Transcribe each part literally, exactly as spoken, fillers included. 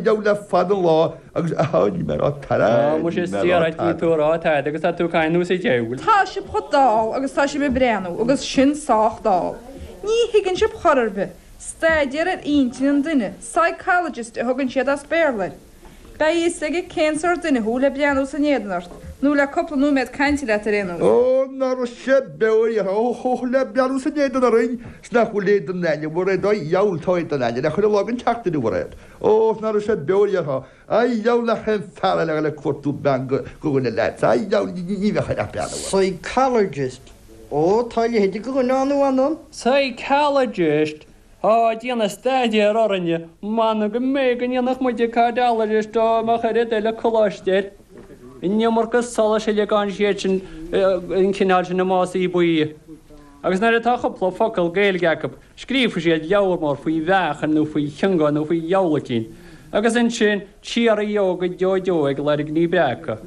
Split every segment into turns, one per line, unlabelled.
Dheabhail le fada an lá agus á ní mé a rá tada,
Á, muise
ní
is
mé a rá
iarraidh ní
tada.
tú a rá tada agus tá tú ag caint nós an diabhail.
Tá sibh chomh dall agus tá sibh ag breathnú agus sin sách dall. Ní thuigeann sibh chor ar bith. Staidéar ar intinn an duine, psychologist a thugann siad as Béarla air. Beidh a fhios aige cén sórt duine thú le breathnú san éadan ort, nó le cúpla nóiméad cainte leat ar aon nós.
Ó, ná raibh sé beo ar iarraidh, ó, ó, le breathnú san éadan orainn, 's nach bhfuil éadan ainne, Mhairéad, a dheabhail, tá éadan ainne le chuile lá den tseachtain, a Mhairéad. Ó, 's ná raibh sé beo ar iarraidh, a dheabhail, nach aon fear eile a ghoil ag cuartú bean go dhuine leat, a dheabhail, ní bheadh air ach breathnú air.
Psychologist. Ó, tá a leithéid de dhuine ann nó anonn.
Psychologist! Á, ag déanamh staidéar orainne, m'anam go mbeidh go ndéanfadh muide cardiologist dá mbeadh oiread eile coláiste air. An iomarca solais a ligeann siad sin, an cineál sin i másaí buí. Agus nuair atá cúpla focal Gaeilge acu, scríobfaidh siad leabhar mór faoi mheáchan nó faoi chionga nó faoi dheabhail eicínt. Agus ansin, siar leo go deo deo ag lorg ní breaca.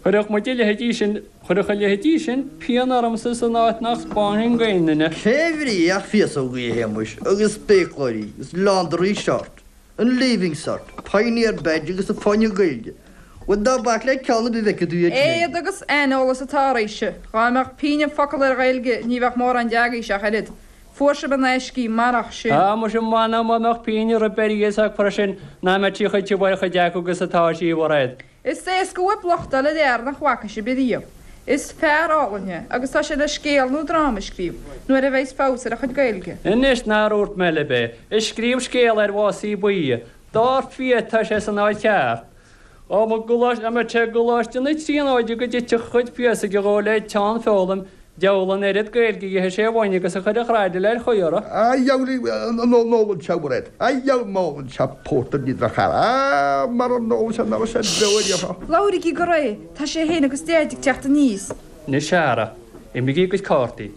Chuirfeadh muid a leithéidí sin, chuirfeadh a leithéidí sin pian ormsa san áit nach 'spáinfinn d'aon duine.
Fé bhrí ach féasógaí, a Shéamuis, agus spéacláirí, agus leándoirí short, an Leaving Cert, Pioneer Badge agus an Fáinne Gaeilge. Bhuel, ná bac le ceann ar bith a bhfeicfidh tú iad sin.
Éad agus aineolas atá oraibhse. Dhá mbeadh pingin focal ar Ghaeilge ní bheadh mórán de agaibhse ach oiread. Fuair sibh in aisce í marach sin.
Á, muise, m'anam má mbeadh pingin ar bith ar fhios acu sin ná mbeadh sí chomh tiubh ar chuid acu agus atá sí, a Mhairéad.
Is éasca uaibh locht a fháil ar fhear nach bhfaca sibh ariamh. Is fear álainn é agus tá sé le scéal nó dráma a scríobh nuair a bheidhs feabhas ar a chuid Gaeilge.
Anois nár dhúirt mé libh é, ag scríobh scéal ar mhásaí buí. Dar fia tá sé san áit cheart. Dá mbeadh sé i gColáiste na Tríonóide go dtitfeadh a chuid féasóige dhó le teann foghlaim, Diabhal an oiread Gaeilge a gheobhadh sé uainn agus a chuirfeadh raidhfil ar chaoi orthu.
A dheabhail an ólann sé Mhairéad. A dheabhail má ólann sé pórtar ní droch-fhear. Á, mara n-ólann sé ná raibh sé beo ar iarraidh.
Labhraigí go réidh, tá sé fhéin agus Deaid ag teacht aníos.
Anois ara, imrígí a gcuid cártaí.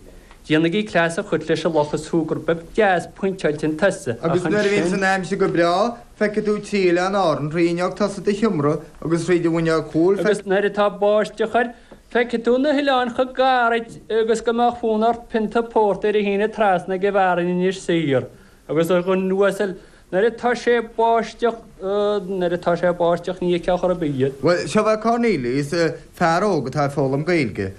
Déanaigí cleas a chur leis an luch is súgar beag deas pointeáilte an tusa,
Agus
ach
nuair a bhíonns
ansin.
an aimsir go breá, feicfidh tú trí Oileán Árann thrí fhuinneog tosaigh do sheomra agus thríd an bhfuinneog chúil,
Agus nuair atá báisteach air, Feicfidh tú na hoileáin chomh gairid agus go mbeadh fonn ort pionta pórtair a shíneadh trasna ag an bhfearann in Inis Oírr. Agus a dhuine uasail, nuair atá sé ag báisteach, nuair atá sé ag báisteach ní fheicfeá chor ar bith iad.
Bhuel, seo é Cornelius, fear óg atá ag foghlaim Gaeilge.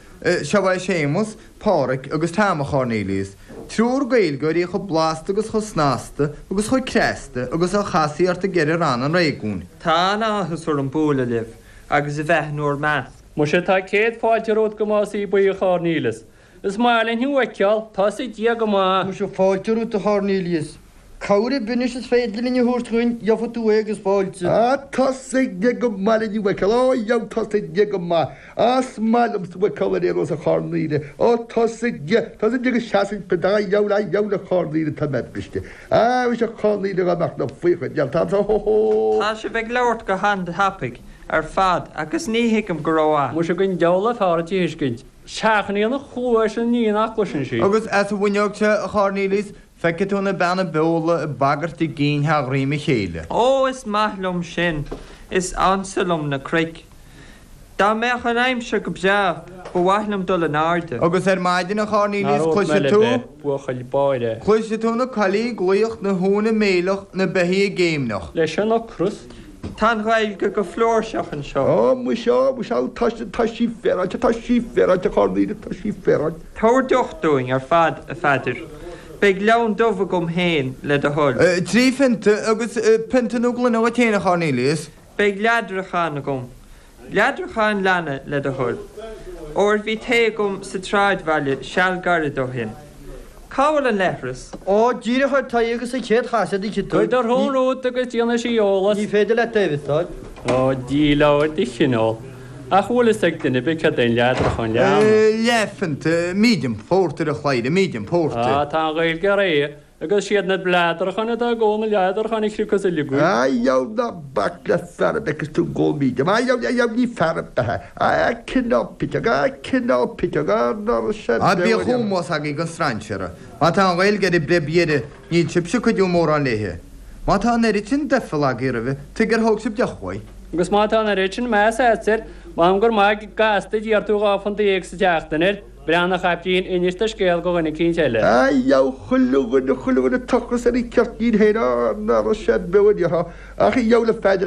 Seo é Séamus, Páraic agus Tom, a Chornelius. Triúr Gaeilgeoirí chomh blasta agus chomh snasta agus chomh cneasta agus a chasfaí ort i gceithre ranna an réigiúin.
Tá an-áthas orm bualadh libh agus a bheith in bhur measc.
Muise tá céad fáilte romhat go Másaí Buí a Chornelius. Is maith linn thú a fheiceáil, tá sa Dia go maith.
Muise fáilte romhat a Chornelius. Cabhair ar bith anois is féidir linn a thabhairt dhuinn, gheobhaidh tú é agus fáilte.
Á, tá sa Dia go maith linn thú a fheiceáil, á dheabhail tá sa Dia go maith. Á, is maith liomsa thú a fheiceáil ar aon nós a Chornelius. Ó, tá sa Dia, tá sa Dia go seasann pioc, á dheabhail, á dheabhail a Chornelius tá mé briste. Á, muise a Chornelius dhá mbeadh na faocha déanta, hó hó.
Tá sibh ag labhairt go han-tapaidh. ar fad agus ní thuigim go rómhaith.
Muise don diabhal ab fearr duit a thuiscint. Seachnaíonn a chluais an ní nach gcloiseann sí.
Agus as an bhfuinneog seo, a Chornelius, feicfidh tú na beanna beola ag bagairt a gcinn thar dhroim a chéile.
Ó, is maith liom sin. Is ansa liom na cnoic. Dá mbeadh an aimsir go breá, ba mhaith liom dul in airde.
Agus ar maidin, a
Nár
Chornelius,
dhúirt mé
cloisfidh
libh
tú.
é, buachaill báire é.
Cloisfidh tú na coiligh ag glaoch, na huain ag méileach, na beithígh ag géimneach.
Leis an ocras.
Tá an Ghaeilge go flúirseach anseo.
Ó, muise, ó, muise, ó, tá sí, tá sí féaráilte, tá sí féaráilte, a Chornelius, tá sí féaráilte.
Tabhair deoch dúinn ar fad, a Pheadair. Beidh leann dubh agam féin, le do thoil.
Trí phionta, agus pionta nó gloine dhuit féin, a Chornelius.
Beidh leadrachán agam. Leadrachán leanna, le do thoil. Óir bhí tae agam sa tsráidbhaile seal gairid ó shin. Cá bhfuil an leithreas?
Ó, díreach ar t'aghaidh agus an chéad chasadh a fheicfidh tú.
Cuir do shrón romhat agus déanfaidh sí eolas.
Ní féidir leat é a mhiosáil.
Ó, díleabhar de chineál. Ach bhfuil fhios ag duine ar bith céard é an leadrachán leanna?
Leathphionta, medium pórtair, a chladhaire, medium pórtair.
Á, tá an Ghaeilge réidh. Agus siad na leadracháin atá ag ól na leadracháin a chriocfas uilig í.
A dheabhail ná bac le fear ar bith agus tú ag ól medium. A dheabhail, a dheabhail ní fear ar bith é. A cineál piteog, a cineál piteog, a ná raibh sé
Á
beo
bíodh
ariamh.
ómós agaibh don strainséara. Má tá an Ghaeilge ar an bpréib dheiridh, níl sibhse ag cuidiú mórán léithe. Má tá an oiread sin doicheall agaibh roimhe, tuige ar thóg sibh deoch uaidh?
Agus má tá an oiread sin meas agat air, m'anam gur maith gasta a d'iarr tú dhá phunt déag sa tseachtain air. Breathnaigh a chaiptín, inis do scéal go dhuine eicínt eile.
A dheabhail chuile dhuine, chuile dhuine tochras ar a cheirtlín féin, á, ná raibh sé beo a déarfá, ach a dheabhail a Pheadair,